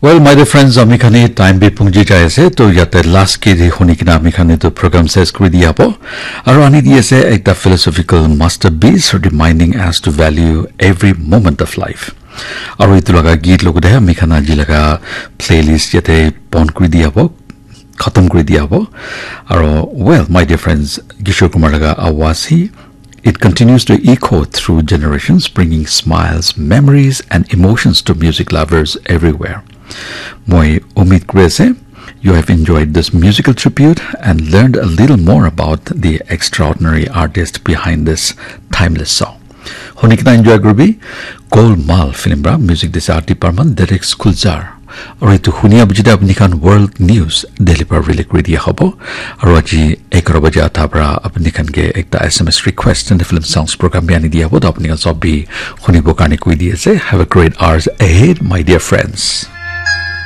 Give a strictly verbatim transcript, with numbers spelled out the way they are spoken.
Well, my dear friends, ami khan hi time bi pungji jai ase, to yate last ke di huni kina ami khan etu program ses kuri diya bo. Aro ani di ase ekta philosophical masterpiece reminding us to value every moment of life. Aro itu laga git logote ami khan aji laga playlist yate pon kuri diya bo, khatam kuri diya bo. Aro, well, my dear friends, Kishore Kumar laga awaz hi, it continues to echo through generations, bringing smiles, memories, and emotions to music lovers everywhere. Moi umid kuri ase, you have enjoyed this musical tribute and learned a little more about the extraordinary artist behind this timeless song. Huni kina enjoy kuribi, Golmaal film pra music dise R D Barman, lyrics Gulzar. Aru etu hunia biji de apni khan world news Delhi pra relay kuri dia hobo. Aru aji egharo baje atha pra apni khan ke ekta S M S request and film songs program bi ani dia hobo. To apni khan sob bi hunibo karne koi di ase. Have a great hours ahead, my dear friends.